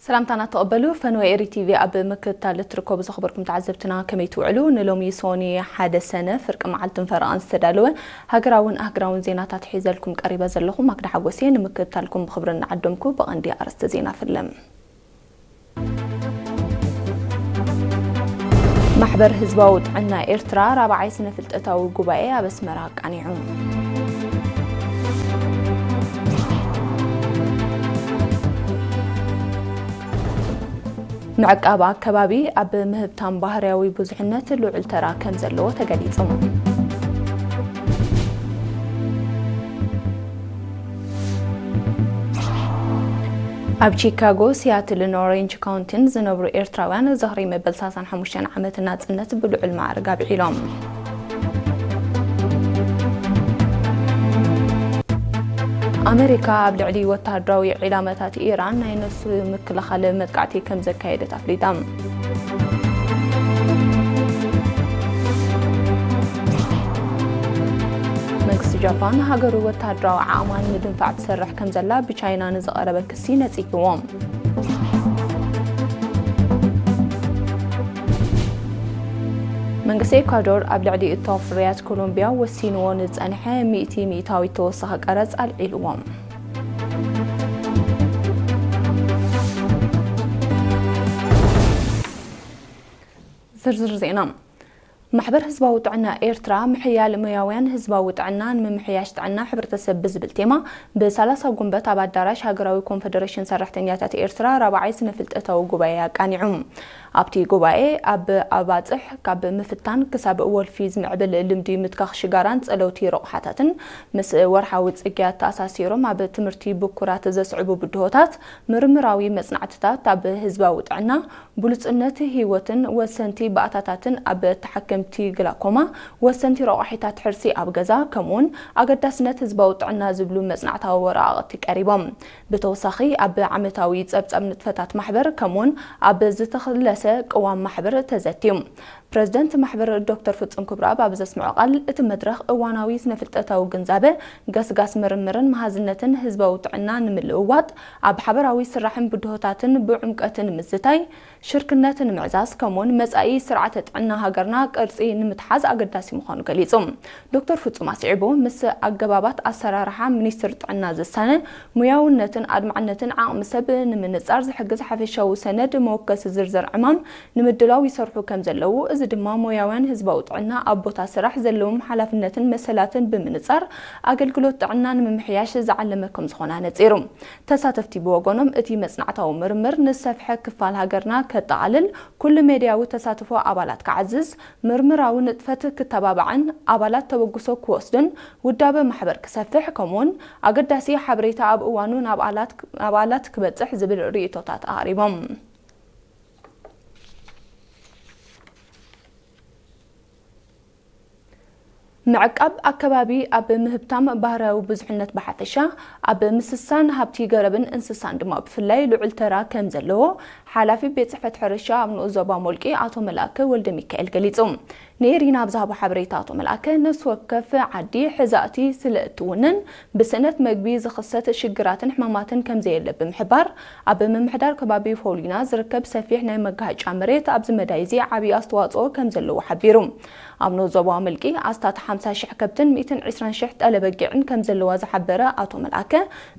ሰላምታና ተቐበሉ። ፈነወ ኤሪ ቲቪ ኣብ ምክትታል እትርከቡ ዘኽበርኩም ተዓዘብትና ከመይ ትውዕሉ? ንሎሚ ሶኒ ሓደ ሰነ ፍርቂ መዓልትን ፈረቓን ዝተዳለወ ሃገራውን ኣህግራውን ዜናታት ሒዘልኩም ቀሪበ ዘለኹ ማክዳ ሓጎሴ። ንምክትታልኩም ብኽብሪ እናዓደምኩ ብቐንዲ ኣርእስቲ ዜና ፍለም። ማሕበር ህዝባዊ ጥዕና ኤርትራ ራብዓይ ስነ ፍልጠታዊ ጉባኤ ኣብ ኣስመራ ኣቃኒዑ። ምዕቃብ ኣከባቢ ኣብ ምህብታም ባህርያዊ ብዙሕነት ልዑል ተራ ከም ዘለዎ ተገሊጹ። ኣብ ቺካጎ፣ ሲያትልን ኦሬንጅ ካውንቲን ዝነብሩ ኤርትራውያን ዝኽሪ መበል ሰላሳን ሓሙሽተን ዓመት ናጽነት ብልዑል ማዕርግ ኣብዒሎም። ኣመሪካ ኣብ ልዕሊ ወተሃደራዊ ዒላማታት ኢራን ናይ ነፍሲ ምክልኻል መጥቃዕቲ ከም ዘካየደት ኣፍሊጣ። መንግስቲ ጃፓን ሃገሩ ወተሃደራዊ ዓቕማ ንምድንፋዕ ትሰርሕ ከም ዘላ ብቻይና ንዝቐረበ ክሲ ነጺግዎ። መንግስቲ ኤኳዶር ኣብ ልዕሊ እቶ ፍርያት ኮሎምቢያ ወሲንዎ ንጸንሐ ሚእቲ ሚእታዊት ተወሳኺ ቀረጽ ኣልዒልዎ። ዝርዝር ዜና። ማሕበር ህዝባዊ ጥዕና ኤርትራ ምሕያል ሞያውያን ህዝባዊ ጥዕና ንምምሕያሽ ጥዕና ሕብረተሰብ ብዝብል ቴማ ብሰላሳ ጉንበት ኣብ ኣዳራሽ ሃገራዊ ኮንፈደሬሽን ሰራሕተኛታት ኤርትራ ራብዓይ ስነ ፍልጠታዊ ጉባኤ ኣቃኒዑ። ኣብቲ ጉባኤ ኣብ ኣባጽሕ ካብ ምፍታን ክሳብ ወልፊ ዝምዕብል ልምዲ ምትካኽ ሽጋራን ጸለውቲ ረቑሓታትን ምስ ወርሓዊ ጽግያት ተኣሳሲሮም ኣብ ትምህርቲ ብኩራት ዘስዕቡ ብድሆታት፣ ምርምራዊ መጽናዕትታት ኣብ ህዝባዊ ጥዕና፣ ብሉጽነት ህይወትን ወሰንቲ ባእታታትን ኣብ ተሓከምቲ ግላኮማ፣ ወሰንቲ ረቋሒታት ሕርሲ ኣብ ገዛ፣ ከምኡውን ኣገዳስነት ህዝባዊ ጥዕና ዝብሉ መጽናዕታዊ ወረቓቕቲ ቀሪቦም። ብተወሳኺ ኣብ ዓመታዊ ጸብጻብ ንጥፈታት ማሕበር፣ ከምኡውን ኣብ ዝተኸለሰ ቅዋም ማሕበር ተዘትዩ። ፕረዚደንት ማሕበር ዶክተር ፍጹም ክብረኣብ ኣብ ዘስምዖ ቃል፣ እቲ መድረኽ እዋናዊ ስነ-ፍልጠታዊ ግንዛበ፣ ገስጋስ ምርምርን መሃዝነትን ህዝባዊ ጥዕና ንምልውዋጥ፣ ኣብ ሓበራዊ ስራሕን ብድሆታትን ብዕምቀት ንምዝታይ፣ ሽርክነት ንምዕዛዝ፣ ከምኡውን መጻኢ ስርዓተ ጥዕና ሃገርና ቅርጺ ንምትሓዝ ኣገዳሲ ምዃኑ ገሊጹ። ዶክተር ፍጹም ኣስዒቡ፣ ምስ ኣገባባት ኣሰራርሓ ሚኒስትር ጥዕና ዝሳነ፣ ሙያውነትን ኣድማዕነትን ዓቕሚ ሰብ ንምንጻር ዝሕግዝ ሓፈሻዊ ሰነድ መወከሲ ዝርዝር ዕማም ንምድላው ይሰርሑ ከም ዘለዉ፣ እዚ ድማ ሞያውያን ህዝባዊ ጥዕና ኣብ ቦታ ስራሕ ዘለዎም ሓላፍነትን መሰላትን ብምንጻር ኣገልግሎት ጥዕና ንምምሕያሽ ዝዓለመ ከም ዝኾነ ኣነጺሩ። ተሳተፍቲ ብወገኖም፣ እቲ መጽናዕታዊ ምርምር ንዝሰፍሐ ክፋል ሃገርና ከጠቓልል፣ ኩሉ ሜድያዊ ተሳትፎ ኣባላት ክዓዝዝ፣ ምርምራዊ ንጥፈት ክተባባዕን ኣባላት ተበግሶ ክወስዱን ውዳበ ማሕበር ክሰፍሕ፣ ከምኡውን ኣገዳሲ ሓበሬታ ኣብ እዋኑ ናብ ኣላት-፣ ኣባላት ክበጽሕ ዝብል ርእይቶታት ኣቕሪቦም። ምዕቃብ ኣከባቢ ኣብ ምህብታም ባህርያዊ ብዙሕነት ብሓፈሻ፣ ኣብ ምስሳን ሃብቲ ገረብን እንስሳን ድማ ብፍላይ ልዑል ተራ ከም ዘለዎ ሓላፊ ቤት ጽሕፈት ሕርሻ ኣብ ንኡስ ዞባ ሞልቂ ኣቶ መልኣከ ወልደ ሚካኤል ገሊጹ። ንኤሪና ኣብ ዝሃቦ ሓበሬታ ኣቶ መልኣከ፣ ነፍሲ ወከፍ ዓዲ ሕዛእቲ ስለ እትውንን ብስእነት መግቢ ዝኽሰት ሽግራትን ሕማማትን ከም ዘየለ ብምሕባር፣ ኣብ ምምሕዳር ከባቢ ፎሊና ዝርከብ ሰፊሕ ናይ መጋሃጫ መሬት ኣብዚ መዳይ እዚ ዓብዪ ኣስተዋጽኦ ከም ዘለዎ ሓቢሩ። ኣብ ንኡስ ዞባ ሞልቂ ኣስታት ሓምሳ ሽሕ ከብትን ሚእትን ዕስራን ሽሕ ጠለ በጊዕን ከም ዘለዋ ዝሓበረ ኣቶ መልኣከ፣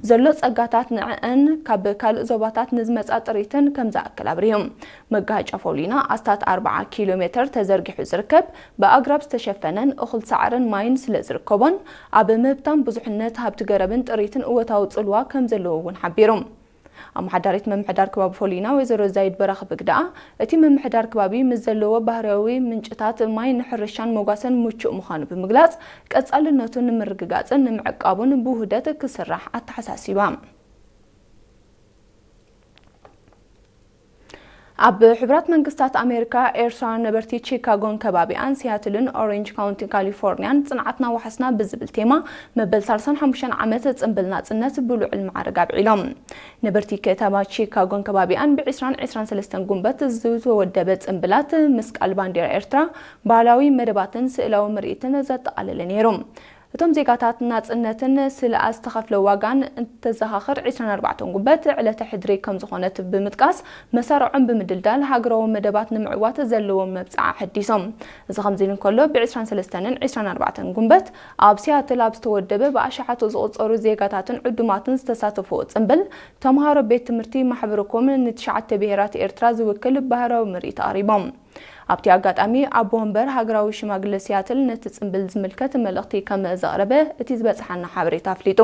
ዘሎ ጸጋታት ንዕአን ካብ ካልእ ዞባታት ንዝመጻ ጥሪትን ከም ዝኣክል ኣብሪሁ። መጋሃጫ ፎሊና ኣስታት ኣርብዓ ኪሎ ሜተር ተዘርጊሑ ዝርከብ፣ ብኣግራብ ዝተሸፈነን እኹል ሳዕርን ማይን ስለ ዝርከቦን፣ ኣብ ምህብታም ብዙሕነት ሃብቲ ገረብን ጥሪትን እወታዊ ጽልዋ ከም ዘለዎ እውን ሓቢሩ። ኣመሓዳሪት ምምሕዳር ከባቢ ፎሊና ወይዘሮ ዛይድ በራኺ ብግደኣ፣ እቲ ምምሕዳር ከባቢ ምስ ዘለዎ ባህርያዊ ምንጭታት ማይ ንሕርሻን መጓሰን ምቹእ ምዃኑ ብምግላጽ፣ ቀጻልነቱ ንምርግጋጽን ንምዕቃቡን ብውህደት ክስራሕ ኣተሓሳሲባ። ኣብ ሕቡራት መንግስታት ኣሜሪካ፣ ኤርትራውያን ነበርቲ ቺካጎን ከባቢኣን፣ ሲያትልን ኦሬንጅ ካውንቲ ካሊፎርኒያን ጽንዓትና ዋሕስና ብዝብል ቴማ መበል ሰላሳን ሓሙሽተን ዓመት ጽምብል ናጽነት ብልዑል ማዕርግ ኣብዒሎም። ነበርቲ ከተማ ቺካጎን ከባቢኣን ብ ዕስራን ዕስራን ሰለስተን ጉንበት ዝተወደበ ጽምብላት፣ ምስቃል ባንዴራ ኤርትራ፣ ባህላዊ መደባትን ስእላዊ ምርኢትን ዘጠቓለለ ነይሩ። እቶም ዜጋታት ናጽነትን ስለ ዝተኸፍለ ዋጋን እንተዘኻኽር፣ ዕስራን ኣርባዕተን ጉንበት ዕለተ ሕድሪ ከም ዝኾነት ብምጥቃስ፣ መሳርዖም ብምድልዳል ሃገራዊ መደባት ንምዕዋት ዘለዎም መብጽዓ ኣሐዲሶም። እዚ ከምዚ ኢሉ እንከሎ፣ ብ ዕስራን ሰለስተን ዕስራን ኣርባዕተን ጉንበት ኣብ ሲያትል ኣብ ዝተወደበ ብኣሽሓት ዝቑጸሩ ዜጋታትን ዕዱማትን ዝተሳተፍዎ ጽምብል፣ ተምሃሮ ቤት ትምህርቲ ማሕበረ ኮም ንትሽዓተ ብሄራት ኤርትራ ዝውክል ባህራዊ ምርኢት ኣቕሪቦም። ኣብቲ ኣጋጣሚ ኣቦ ወንበር ሃገራዊ ሽማግለ ሲያትል ነቲ ጽምብል ዝምልከት መልእኽቲ ከም ዘቕረበ እቲ ዝበጽሓና ሓበሬታ ኣፍሊጡ።